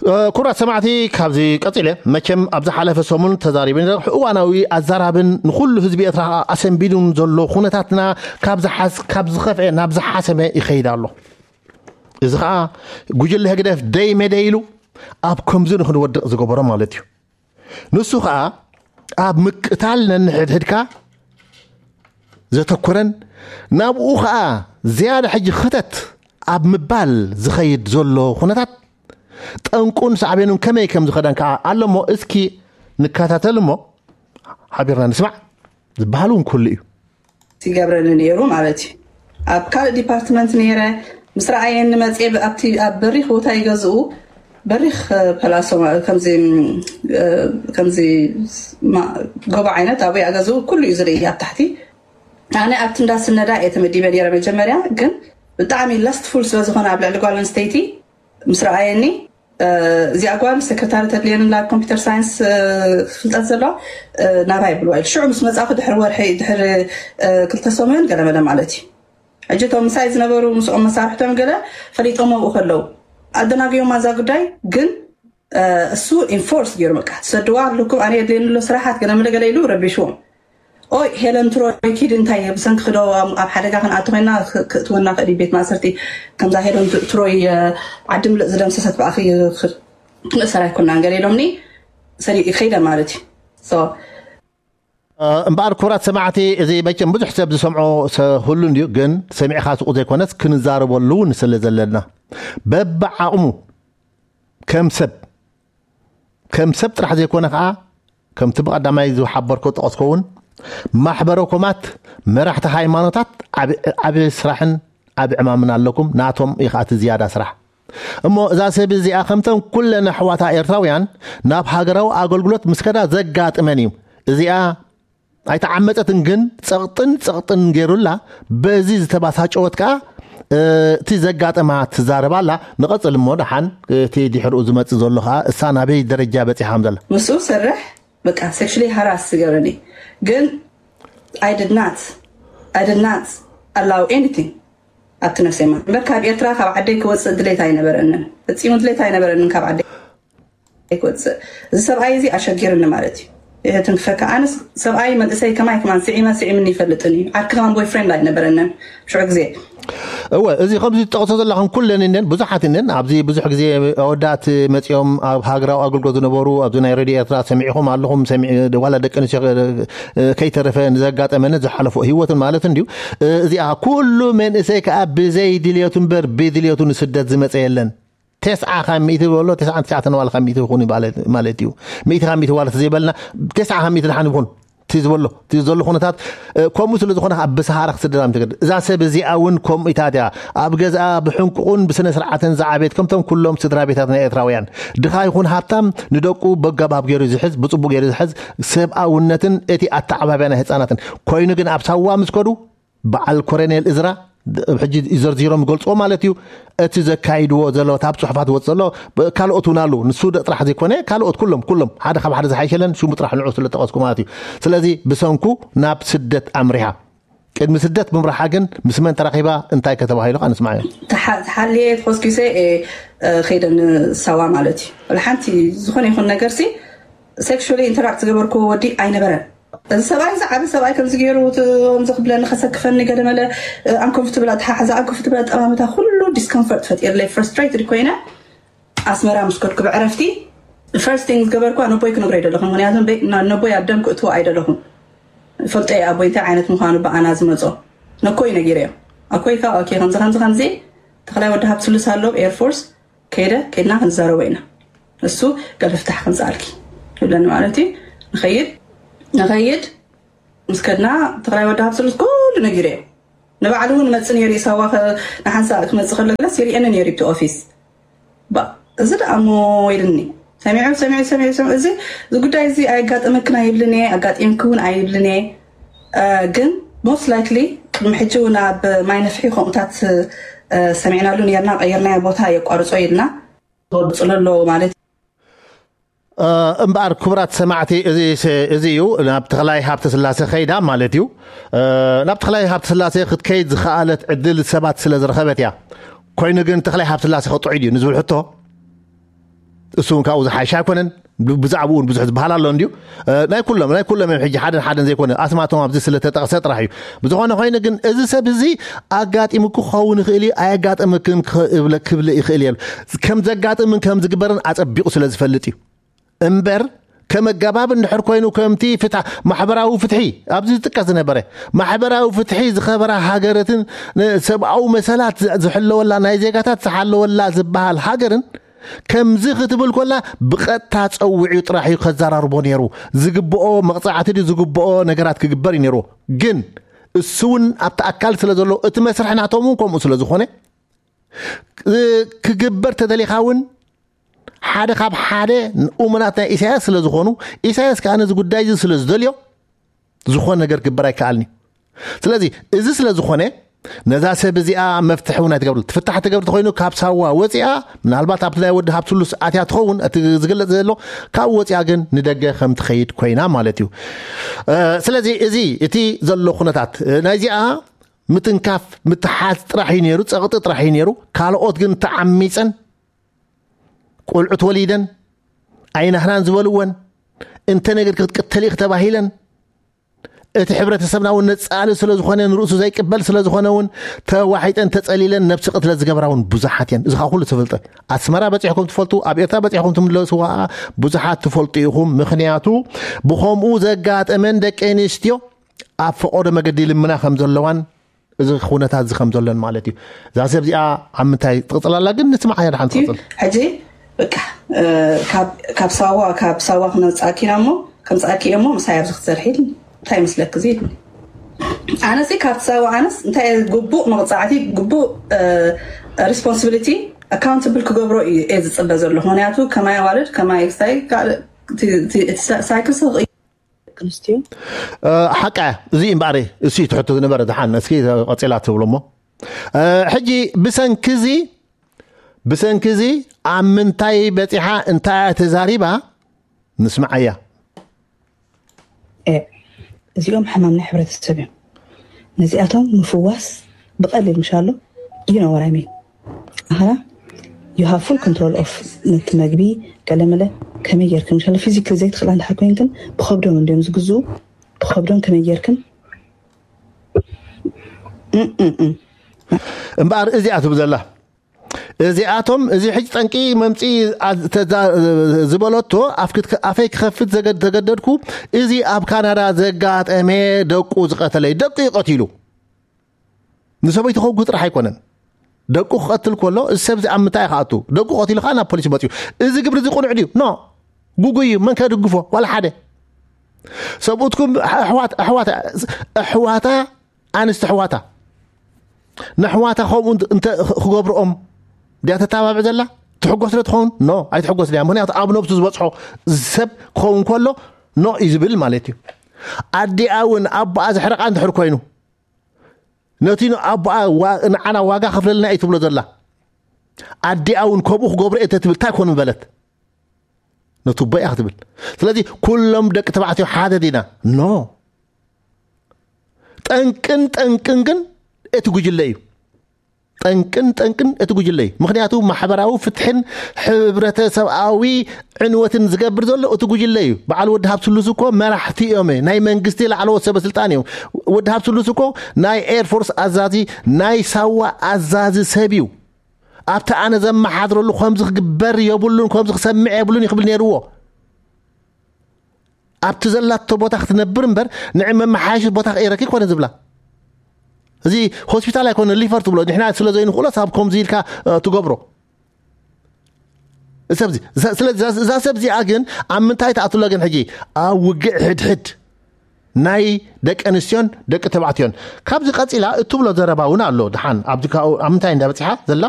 ክቡራት ሰማዕቲ፣ ካብዚ ቀጺለ መቸም ኣብ ዝሓለፈ ሰሙን ተዛሪበ ነረ። እዋናዊ ኣዛራብን ንኹሉ ህዝቢ ኤርትራ ኣሰንቢዱን ዘሎ ኩነታትና ካብ ዝሓስ ካብ ዝኸፍኤ ናብ ዝሓሰመ ይኸይድ ኣሎ። እዚ ኸኣ ጉጅለ ህግደፍ ደይ መደይ ኢሉ ኣብ ከምዚ ንክንወድቕ ዝገበሮ ማለት እዩ። ንሱ ኸኣ ኣብ ምቅታል ነንሕድሕድካ ዘተኮረን ናብኡ ኸኣ ዝያዳ ሕጂ ክተት ኣብ ምባል ዝኸይድ ዘሎ ኩነታት ጠንቁን ሳዕቤኑን ከመይ ከም ዝኸደን ከኣ ኣሎ እሞ እስኪ ንከታተል እሞ ሓቢርና ንስማዕ ዝበሃል እውን ኩሉ እዩ። ይገብረኒ ነይሩ ማለት እዩ። ኣብ ካልእ ዲፓርትመንት ነይረ ምስ ረኣየኒ መፅየ ኣብቲ ኣብ በሪኽ ቦታ ይገዝኡ በሪኽ ፐላሶ ከምዚ ከምዚ ጎቦ ዓይነት ኣብኡ ኣገዝኡ ኩሉ እዩ ዝርኢ ኣብ ታሕቲ። ኣነ ኣብቲ እንዳስነዳ እየ ተመዲበ ነይረ መጀመርያ፣ ግን ብጣዕሚ ላስትፉል ስለዝኾነ ኣብ ልዕሊ ጓል ኣንስተይቲ ምስ ረኣየኒ እዚኣ ጓል ሰክረታሪ ተድልየን ላ ኮምፒተር ሳይንስ ፍልጠት ዘለዋ ናባይ ብልዋ ኢሉ ሽዑ ምስ መጻእኩ ድሕሪ ወርሒ ድሕሪ ክልተ ሰሙን ገለመለ ማለት እዩ። ሕጂ እቶም ምሳይ ዝነበሩ ምስኦም መሳርሕቶም ገለ ፈሊጦም ኣብኡ ከለዉ ኣደናግዮም ኣዛ ጉዳይ ግን እሱ ኢንፎርስ ገይሩ በቃ ትሰድዋ ኣለኩም ኣነ የድልየኒ ኣሎ ስራሓት ገለ መለ ገለ ኢሉ ረቢሽዎም። ኦይ ሄለን ትሮይ ኪድ እንታይ ብሰንኪ ክዶ ኣብ ሓደጋ ክንኣቱ ኮይና ክእትወና ክእል ቤት ማእሰርቲ ከምዛ ሄለን ትሮይ ዓዲ ምልእ ዝደምሰሰት ብኣኺ ክንእሰር ኣይኮናን ገለ ኢሎምኒ ሰዲኡ ከይደ ማለት እዩ። እምበኣር ክቡራት ሰማዕቲ እዚ መቸም ብዙሕ ሰብ ዝሰምዖ ሰ- ሁሉ እንድዩ፣ ግን ሰሚዕኻ ስቁ ዘይኮነስ ክንዛረበሉ እውን ስለ ዘለና በብዓቕሙ ከም ሰብ ከም ሰብ ጥራሕ ዘይኮነ ከዓ ከምቲ ብቐዳማይ ዝሓበርኮ ጠቐስኮ እውን ማሕበረኮማት መራሕቲ ሃይማኖታት ዓብ- ዓብ ስራሕን ዓብ ዕማምን ኣለኩም። ናቶም እዩ ከዓ እቲ ዝያዳ ስራሕ። እሞ እዛ ሰብ እዚኣ ከምተን ኩለን ኣሕዋታ ኤርትራውያን ናብ ሃገራዊ ኣገልግሎት ምስ ከዳ ዘጋጥመን እዩ። እዚኣ ኣይተዓመፀትን፣ ግን ፀቕጥን ፀቕጥን ገይሩላ በዚ ዝተባሳጨወት ከዓ እቲ ዘጋጠማ ትዛረብ ኣላ። ንቐፅል እሞ ደሓን እቲ ድሕርኡ ዝመፅእ ዘሎ ከዓ እሳ ናበይ ደረጃ በፂሓ ከም ዘላ ምስኡ ሰርሕ በቃ ሴክሽሊ ሃራስ ዝገብረኒ ግን I did not I did not allow anything ኣብቲ ነፍሰይ ማለት እምበር ካብ ኤርትራ ካብ ዓደይ ክወፅእ ድሌት ኣይነበረንን። ፈፂሙ ድሌት ኣይነበረንን ካብ ዓደይ ክወፅእ። እዚ ሰብኣይ እዚ ኣሸጊርኒ ማለት እዩ። ይህትን ክፈካ ኣነስ ሰብኣይ መንእሰይ ከማይ ከማን ስዒመ ስዒምኒ ይፈልጥን እዩ። ዓርኪ ከማን ቦይፍሬንድ ኣይነበረንን ሽዑ ግዜ። እወ፣ እዚ ከምዚ ትጠቕሶ ዘለኹም ኩለን እነን ብዙሓት እነን ኣብዚ ብዙሕ ግዜ ኣወዳት መፂኦም ኣብ ሃገራዊ ኣገልግሎት ዝነበሩ ኣብዚ ናይ ሬድዮ ኤርትራ ሰሚዕኹም ኣለኹም። ሰሚ- ዋላ ደቂ ኣንስትዮ ከይተረፈ ንዘጋጠመን ዝሓለፎ ህይወትን ማለት እንድዩ። እዚኣ ኩሉ መንእሰይ ከዓ ብዘይ ድልየቱ እምበር ብድልየቱ ንስደት ዝመፀ የለን። ተስዓ ካብ ሚእቲ ዝበሎ ተስዓን ትሽዓተን ዋላ ካብ ሚእቲ ይኹን ማለት ማለት እዩ። ሚእቲ ካብ ሚእቲ ዋላ ተዘይበልና ተስዓ ካብ ሚእቲ ደሓን ይኹን እቲ ዝበሎ እቲ ዘሎ ኩነታት ከምኡ ስለ ዝኾነ ኣብ ብሰሃራ ክስደዳ ምትገድ እዛ ሰብ እዚኣ እውን ከምኡ ኢታት እያ። ኣብ ገዝኣ ብሕንቁቑን ብስነ ስርዓትን ዝዓቤት ከምቶም ኩሎም ስድራ ቤታት ናይ ኤርትራውያን ድኻ ይኹን ሃብታም ንደቁ በጋባብ ገይሩ ዝሕዝ ብፅቡቅ ገይሩ ዝሕዝ ሰብኣውነትን እቲ ኣተዓባብያ ናይ ህፃናትን ኮይኑ ግን ኣብ ሳዋ ምስ ከዱ በዓል ኮረኔል እዝራ ሕጂ ዘርዚሮም ይገልፅዎ ማለት እዩ። እቲ ዘካይድዎ ዘለዎት ኣብ ፅሑፋት ወፅ ዘሎ ካልኦት እውን ኣሉ ንሱ ደ ጥራሕ ዘይኮነ ካልኦት ኩሎም ኩሎም ሓደ ካብ ሓደ ዝሓይሸለን ሽሙ ጥራሕ ንዑ ስለጠቐስኩ ማለት እዩ። ስለዚ ብሰንኩ ናብ ስደት ኣምሪሓ። ቅድሚ ስደት ምምራሓ ግን ምስ መን ተራኺባ እንታይ ከተባሂሉ ከ ንስማዕ እዮም። ተሓልየ ተኾስኪሰ እየ ከይደ ንሳዋ ማለት እዩ። ሓንቲ ዝኾነ ይኹን ነገር ሲ ሴክሹሊ ኢንተራክት ዝገበርኩዎ ወዲ ኣይነበረን። እዚ ሰብኣይ እዚ ዓቢ ሰብኣይ ከምዚ ገይሩ ከምዚ ክብለኒ ከሰክፈኒ ገለ መለ ኣንኮምፍትብል ኣተሓሕዛ ኣንኮምፍትብል ኣጠማምታ ኩሉ ዲስኮምፈርት ፈጢርለይ ፍረስትሬትድ ኮይነ ኣስመራ ምስ ከድኩ ብዕረፍቲ ፈርስት ቲንግ ዝገበርኳ ነቦይ ክነግሮ ኣይደለኹም ምክንያቱ ነቦይ ኣብ ደም ክእትዎ ኣይደለኹም ፈልጦ ኣቦይ እንታይ ዓይነት ምዃኑ ብኣና ዝመጾ ነኮይ ነጊረዮ ኣኮይ ካብ ኦኬ ከምዚ ከምዚ ከምዚ ተኽላይ ወዲ ሃብቲ ስሉስ ኣሎ ኤርፎርስ ከይደ ከይድና ክንዛረቦ ኢና እሱ ገለ ፍታሕ ከምፅኣልኪ ይብለኒ ማለት እዩ ንኸይድ ንኸይድ ምስ ከድና ትግራይ ወዲ ሃብቲ ስሉስ ኩሉ ነጊረዮ ንባዕሉ እውን መፅ ነይሩ ኢሳዋ ንሓንሳእ ክመፅእ ከሎ ገለስ ይርእየኒ ነይሩ ብቲ ኦፊስ እዚ ደኣ እሞ ኢልኒ ሰሚዑ ሰሚዑ ሰሚዑ ሰሚዑ እዚ እዚ ጉዳይ እዚ ኣየጋጠመክን ኣይብልን እየ ኣጋጢምኪ እውን ኣይብልን እየ ግን ሞስት ላይክሊ ቅድሚ ሕጂ እውን ኣብ ማይ ነፍሒ ከምኡታት ሰሚዕናሉ ነርና ቀይርናዮ ቦታ የቋርጾ ኢልና ተወጽሎ ኣለዎ ማለት እምበኣር ክቡራት ሰማዕቲ እዚ እዩ ናብ ተኽላይ ሃብተ ስላሴ ከይዳ ማለት እዩ ናብ ተኽላይ ሃብተ ስላሴ ክትከይድ ዝኸኣለት ዕድል ሰባት ስለ ዝረኸበት እያ ኮይኑ ግን ተኽላይ ሃብተ ስላሴ ከጥዑ ድዩ ንዝብል ሕቶ እሱ እውን ካብኡ ዝሓይሽ ኣይኮነን። ብ- ብዛዕባኡ እውን ብዙሕ ዝበሃል ኣሎ እንድዩ። እ፣ ናይ ኩሎም ናይ ኩሎም እዮም። ሕጂ ሓደን ሓደን ዘይኮነ፣ ኣስማቶም ኣብዚ ስለተጠቕሰ ጥራሕ እዩ። ብዝኾነ ኮይኑ ግን፣ እዚ ሰብ እዚ ኣጋጢሙኪ ክኸውን ይኽእል እዩ፣ ኣየጋጠመክን ክብለ- ክብል ይኽእል እዩ። ከም ዘጋጥምን ከም ዝግበርን ኣጸቢቑ ስለ ዝፈልጥ እዩ። እምበር፣ ከም ኣገባብ እንድሕር ኮይኑ፣ ከምቲ ፍትሕ- ማሕበራዊ ፍትሒ ኣብዚ ዝጥቀስ ዝነበረ፣ ማሕበራዊ ፍትሒ ዝኸበራ ሃገራትን ሰብኣዊ መሰላት ዝ- ዝሕለወላ፣ ናይ ዜጋታት ዝሓለወላ ዝበሃል ሃገርን፣ ከምዚ ክትብል ኮላ፣ ብቐጥታ ጸዊዑ ጥራሕ እዩ ከዘራርቦ ነይሩ። ዝግብኦ መቕጻዕቲ ድዩ ዝግብኦ ነገራት ክግበር እዩ ነይሩ። ግን እሱ እውን ኣብቲ ኣካል ስለ ዘሎ፣ እቲ መስርሕ ናቶም እውን ከምኡ ስለ ዝኾነ፣ እ፣ ክግበር ተደሊኻ እውን፣ ሓደ ካብ ሓደ እሙናት ናይ ኢሳያስ ስለ ዝኾኑ፣ ኢሳያስ ከኣ ነዚ ጉዳይ እዚ ስለ ዝደልዮ፣ ዝኾነ ነገር ክግበር ኣይከኣልን እዩ። ስለዚ፣ እዚ ስለ ዝኾነ፣ ነዛ ሰብ እዚኣ መፍትሒ እውን ኣይትገብርሉ። ትፍታሕ ትገብር ተኾይኑ፣ ካብ ሳዋ ወፂኣ፣ ምናልባት ኣብቲ ናይ ወዲ ሃብትሉስ ኣትያ ትኸውን፣ እቲ ዝግለጽ ዘሎ፣ ካብኡ ወፂኣ ግን ንደገ ከም ትኸይድ ኮይና ማለት እዩ። እ፣ ስለዚ፣ እዚ እቲ ዘሎ ኩነታት፣ እ፣ ናይዚኣ ምትንካፍ፣ ምትሓዝ ጥራሕ እዩ ነይሩ፣ ጸቕጢ ጥራሕ እዩ ነይሩ። ካልኦት ግን ተዓሚጸን፣ ቆልዑት ወሊደን፣ ኣይናህናን ዝበልወን፣ እንተ ነገር ክትቅተሊ ኢኺ ተባሂለን፣ እቲ ሕብረተሰብና እውን ነጻሊ ስለ ዝኾነ፣ ንርእሱ ዘይቅበል ስለ ዝኾነ እውን፣ ተዋሒጠን ተጸሊለን ነብሲ ቅትለት ዝገብራ እውን ብዙሓት እየን። እዚ ኸኣ ኩሉ ትፈልጦ። ኣስመራ በጺሕኩም ትፈልጡ፣ ኣብ ኤርትራ በጺሕኩም ትምለስዋ ብዙሓት ትፈልጡ ኢኹም። ምኽንያቱ፣ ብኸምኡ ዘጋጠመን ደቂ ኣንስትዮ ኣብ ፈቐዶ መገዲ ልምና ከም ዘለዋን፣ እዚ ኩነታት እዚ ከም ዘሎን ማለት እዩ። እዛ ሰብ እዚኣ ኣብ ምንታይ ትቕጽል ኣላ ግን ንስምዓ እያ። ድሓን ትቕጽል። ሕጂ በቃ፣ እ፣ ካብ ካብ ሳዋ ካብ ሳዋ ክነውጻእኪ ኢና እሞ፣ ከምጻእኪ እየ እሞ፣ ምሳይ ኣብዚ ክትሰርሒ እንታይ ይመስለኪ እዚ ኢልኒ። ኣነሲ ካብቲ ሳዋ ኣነስ እንታይ እየ ግቡእ መቕጻዕቲ፣ ግቡእ፣ እ፣ ሪስፖንሲቢሊቲ፣ ኣካውንታብል ክገብሮ እዩ እየ ዝጽበ ዘለኹ። ምኽንያቱ ከማይ ኣዋልድ፣ ከማይ ክስታይ፣ ካልእ፣ እቲ- እቲ- እቲ ሳ- ሳይክል ስቕ እዩ። ኣንስትዮ። እ፣ ሓቃ እያ። እዚ እምበኣር እሱ እዩ ትሕቶ ዝነበረ። ድሓን እስኪ ቀጺላ ትብሎ እሞ፣ እ፣ ሕጂ ብሰንኪ እዚ፣ ብሰንኪ እዚ ኣብ ምንታይ በጺሓ፣ እንታይ እያ ተዛሪባ? ንስምዓያ። እ፣ እዚኦም ሕማም ናይ ሕብረተሰብ እዮም። ነዚኣቶም ምፍዋስ ብቐሊል ምሻሎ። You know what I mean? ኣኸና you have full control of ነቲ መግቢ፣ ገለመለ፣ ከመይ ጌርክን ምሻሎ። ፊዚክሊ ዘይትኽእላ እንድሕር ኮይንክን፣ ብኸብዶም እንድዮም ዝግዝኡ። ብኸብዶም ከመይ ጌርክን? እም፣ እም፣ እም። እምበኣር እዚኣ ትብል ዘላ፣ እዚኣቶም፣ እዚ ሕጂ ጠንቂ መምፂ ኣ- ተዛ- ዝበለቶ፣ ኣፍ ክት- ኣፈይ ክኸፍት ዘገድ- ተገደድኩ። እዚ ኣብ ካናዳ ዘጋጠመ፣ ደቁ ዝቐተለ፣ ደቁ እዩ ቀቲሉ። ንሰበይቱ ከውግህ ጥራሕ ኣይኮነን። ደቁ ክቐትል ከሎ፣ እዚ ሰብ እዚ ኣብ ምንታይ እዩ ክኣቱ? ደቁ ቀቲሉ ከዓ ናብ ፖሊስ መፅዩ። እዚ ግብሪ እዚ ቁኑዕ ድዩ? ኖ። ጉጉይ እዩ። መን ከድግፎ? ዋላ ሓደ። ሰብኡትኩም ኣሕዋት- ኣሕዋት- ኣሕዋታ፣ ኣንስቲ ኣሕዋታ፣ ንኣሕዋታ ከምኡ እንተ- እንተ ክገብርኦም ድያ ተተባብዕ ዘላ? ትሕጎስ ዶ ትኸውን? ኖ፣ ኣይትሕጎስ ድያ። ምኽንያቱ ኣብ ነብሱ ዝበፅሖ ሰብ ክኸውን ከሎ፣ ኖ እዩ ዝብል ማለት እዩ። ኣዲኣ እውን ኣቦኣ ዘሕረቓ እንድሕር ኮይኑ፣ ነቲ ኣቦኣ ዋ- ንዓና ዋጋ ከፍለልና እዩ ትብሎ ዘላ። ኣዲኣ እውን ከምኡ ክገብሮ እየ ተትብል እንታይ ኮን ምበለት? ነቲ ኣቦ እያ ክትብል። ስለዚ ኩሎም ደቂ ተባዕትዮ ሓደ ዲና? ኖ። ጠንቅን ጠንቅን ግን እቲ ጉጅለ እዩ። ጠንቅን ጠንቅን እቲ ጉጅለ እዩ። ምኽንያቱ ማሕበራዊ ፍትሕን ሕብረተሰብኣዊ ዕንወትን ዝገብር ዘሎ እቲ ጉጅለ እዩ። በዓል ወዲ ሃብትሉስ እኮ መራሕቲ እዮም። ናይ መንግስቲ ላዕለዎት ሰበ ስልጣን እዮም። ወዲ ሃብትሉስ እኮ ናይ ኤርፎርስ ኣዛዚ፣ ናይ ሳዋ ኣዛዚ ሰብ እዩ። ኣብቲ ኣነ ዘመሓድረሉ ከምዚ ክግበር የብሉን፣ ከምዚ ክሰምዕ የብሉን ይኽብል ነይርዎ። ኣብቲ ዘላቶ ቦታ ክትነብር እምበር፣ ንዕ መመሓየሺ ቦታ ክእረኪ ኮነ ዝብላ። እዚ ሆስፒታል ኣይኮነ፣ ሊፈር ትብሎ። ንሕና ስለ ዘይንኽእሎ፣ ሳብ ከምዚ ኢልካ፣ እ፣ ትገብሮ። ሰብዚ- ሰ- ስለዚ እዛ- እዛ ሰብ እዚኣ ግን ኣብ ምንታይ ትኣትሎ ግን ሕጂ? ኣብ ውግእ ሕድሕድ ናይ ደቂ ኣንስትዮን ደቂ ተባዕትዮን። ካብዚ ቀጺላ እትብሎ ዘረባ እውን ኣሎ። ድሓን ኣብዚ ካብኡ ኣብ ምንታይ እንዳበጺሓ ዘላ?